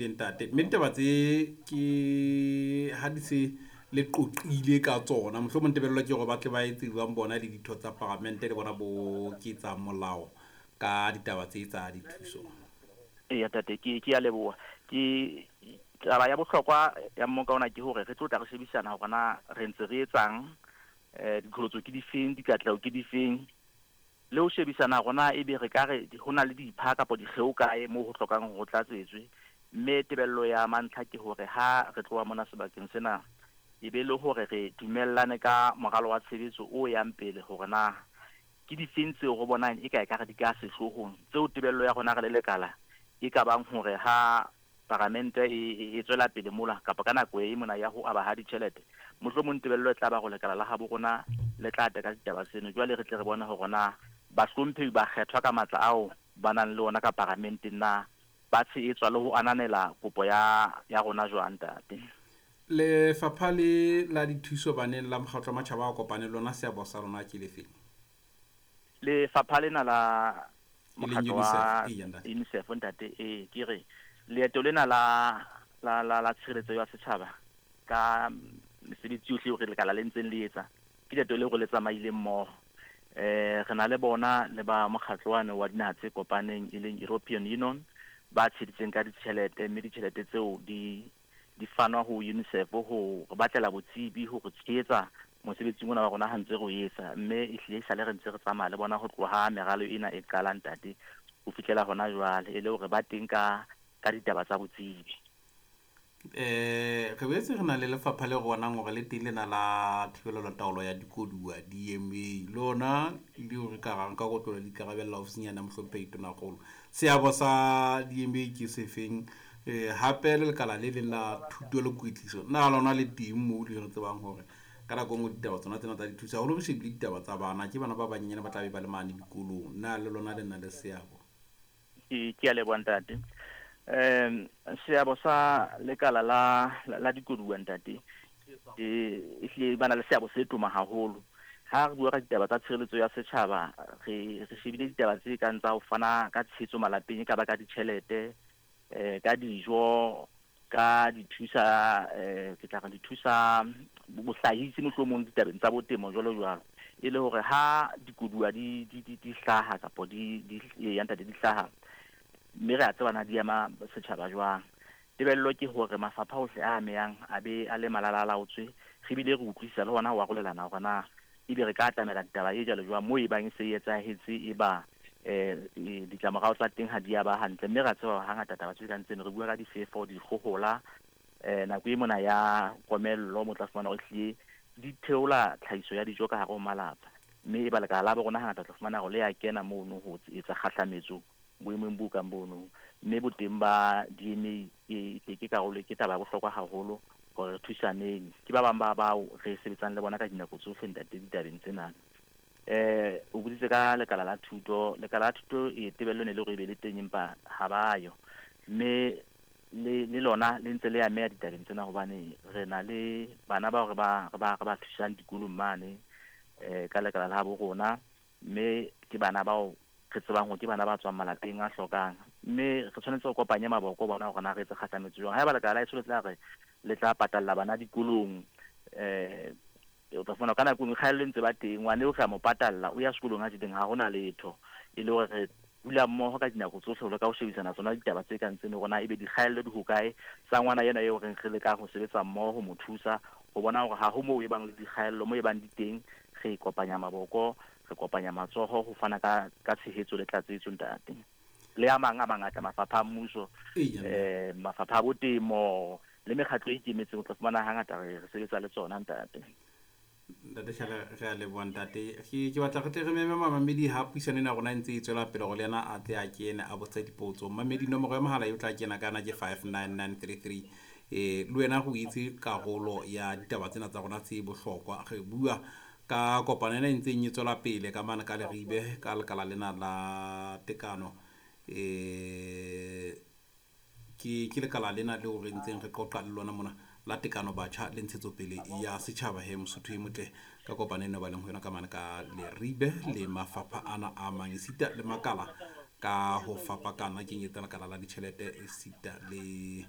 Ntate, mme ditaba tse ke ha di se le qoqile ka tsona, mohlomong tebello ke hore ba tle ba etse jwang bona le ditho tsa paramente le bona bo ketsa molao ka ditaba tse tsa dithuso? Eya ntate, ke a leboha. Ke taba ya bohlokwa ya mmoka ona ke hore re tlo tla re shebisana hore na re ntse re etsang, diqholotso ke difeng, dikatleho ke difeng, le ho shebisana hore na ebe re ka re ho na le dipha kapa dikgeo kae moo ho hlokang hore ho tlatsetswe. Mme tebello ya mantlha ke hore ha re tloha mona sebakeng sena, e be le hore re dumellane ka moralo wa tshebetso o yang pele hore na ke difeng tseo re bonang e ka ekare di ka sehloohong, tseo tebello ya rona re le lekala e ka bang hore ha paramente e tswela pele mola kapa ka nako e mona ya ho aba ha ditjhelete, mohlomong tebello e tla ba hore lekala la habo rona le tla teka ditaba tseno. Jwale re tle re bone hore na bahlomphehi ba kgethwa ka matla ao ba nang le ona ka paramenteng na ba tshehetswa le ho ananela kopo ya rona jwang, ntate. Lefapha le la dithuso baneng la Mokgatlo wa Matjhaba a Kopaneng, lona seabo sa lona ke lefeng? Lefapha lena la mokgatlo wa UNICEF, eya, ntate. UNICEF, ntate, ee, ke re leeto lena la tshireletso ya setjhaba ka mesebetsi yohle eo re lekala le ntseng le etsa, ke leeto leo re le tsamaileng mmoho. Re na le bona le ba mokgatlo wane wa dinaha tse kopaneng e leng European Union, ba tsheditseng ka ditjhelete, mme ditjhelete tseo di fanwa ho UNICEF ho re batlela botsebi, ho re tshehetsa mosebetsing ona wa rona ha ntse re o etsa. Mme ehlile esale re ntse re tsamaya le bona ho tloha meralo ena e qala, ntate, ho fihlela hona jwale, e le hore ba teng ka ditaba tsa botsebi. Re boetse re na le lefapha le bonang hore le teng lena la thibelo le taolo ya dikoduwa, DMA, lona leo re ka rang ka kotlolo le ikarabella ofising mohlomphehi Tonakgolo. Seabo sa DMA ke sefeng? Hape le lekala le leng la thuto le kwetliso, na lona le teng moo le re tsebang hore ka nako e nngwe ditaba tsona tsena tsa dithuso, haholo re shebile ditaba tsa bana, ke bana ba banyenyane ba tla be ba le mane dikolong, na le lona le na le seabo? Ke a leboha, ntate. Seabo sa lekala la dikoduwa, ntate, ehlile ba na le seabo se toma haholo. Ha re bua ka ditaba tsa tshireletso ya setjhaba, re shebile ditaba tse kang tsa ho fana ka tshehetso malapeng, e ka ba ka ditjhelete, ka dijo, ka dithusa, ke tla re dithusa bohlahisi mohlomong ditabeng tsa botemo jwalo jwalo, e le hore ha dikoduwa di hlaha kapa di ya ntate di hlaha, mme re a tseba na di ama setjhaba jwang. Tebello ke hore mafapha ohle a amehang a be a le malala a laotswe, re bile re utlwisisa le hona ho arolelana hore na ebe re ka atamela ditaba e jwalo jwang moo e bang e se e etsahetse, e ba ditlamorao tsa teng ha di a ba hantle. Mme ra tseba hangata taba tse kang tseno, re bua ka difefo, dikgohola, nako e mona ya komello, mo tla fumana hore ehlile di theola tlhahiso ya dijo ka hare ho malapa, mme e ba lekala la bo rona hangata tla fumana hore le ya kena mono ho etsa kgahlametso boemong bo kang bono. Mme boteng ba DMA ke karolo, ke taba ya bohlokwa haholo hore re thusaneng. Ke ba bang ba bao re sebetsang le bona ka dinako tsohle, ntate, ditabeng tsena. O boditse ka lekala la thuto. Lekala la thuto e tebello ne le hore e be le teng, empa ha ba yo, mme le lona le ntse le ameha ditabeng tsena, hobane re na le bana bao re ba thusang dikolong mane, ka lekala la bo rona, mme ke bana bao re tsebang hore ke bana ba tswang malapeng a hlokang, mme re tshwanetse re kopanye maboko bona hore na re etse kgahlametso jwang. Haeba lekala la heso le tla re le tla patalla bana dikolong, o tla fumana ka nako e nngwe kgaello e ntse ba teng, ngwane o re a mo patalla o ya sekolong a jeleng, ha hona letho. E le hore re dula mmoho ka dinako tsohle ho leka ho shebisana tsona ditaba tse kang tseno, hore na ebe dikgaello di hokae tsa ngwana ena eo reng re lekang ho sebetsa mmoho ho mo thusa ho bona hore ha ho moo e bang le dikgaello, mo e bang di teng re kopanya maboko, re kopanya matsoho ho fana ka tshehetso le tlatsetso, ntate. Le a mang a mangata mafapha a mmuso, mafapha a botemo le mekgatlo e ikemetseng, o tla fumana hangata re sebetsa le tsona, ntate. Ntate Shale, re a leboha, ntate. Ke batla re tle re meme mamamedi ha puisano ena ya rona e ntse e tswela pele, hore le yena a tle a kene a botse dipotso. Mamedi, nomoro ya mohala e o tla kena ka yona ke 59933. Le wena go itse karolo ya ditaba tsena tsa rona tse bohlokwa. Re bua ka kopano ena e ntseng e tswela pele ka mane ka Leribe ka lekala lena la tekano, ke lekala lena leo re ntseng re qoqa le lona mona la tekano, batjha le ntshetsopele ya setjhaba. He Mosotho e motle, ka kopano ena ba leng ho yona ka mane ka Leribe le mafapha ana a mang esita le makala ka ho fapakana, kenyetsa lekala la ditjhelete esita le